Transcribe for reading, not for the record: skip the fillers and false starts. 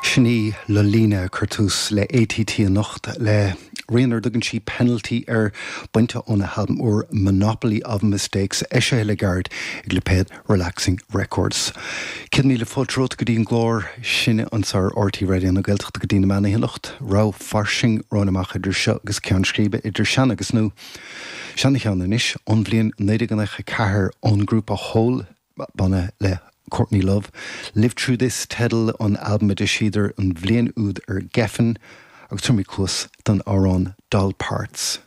Sin í Lolina ag cur tús le ATT anocht le rian ar dtugann sí Penalty air, bainte óna halbam úr Monopoly of Mistakes, eisithe le gairid ag lipéad Relaxing Records. 100,000 fáilte romhat go dtí an gclár sin anseo ar RTÉ Raidió na Gaeltachta go dtí na meán oíche anocht. Rogha fairsing romhainn amach idir seo agus ceann scríbe, idir sean agus nua. Seana-cheann anois, ón bhliain 1994 ón ngrúpa Hole. Banna le Courtney Love. Live Through This teideal an albaim a d'eisíodar an bhliain úd ar Geffen agus tabharfaimid cluas don amhrán Doll Parts.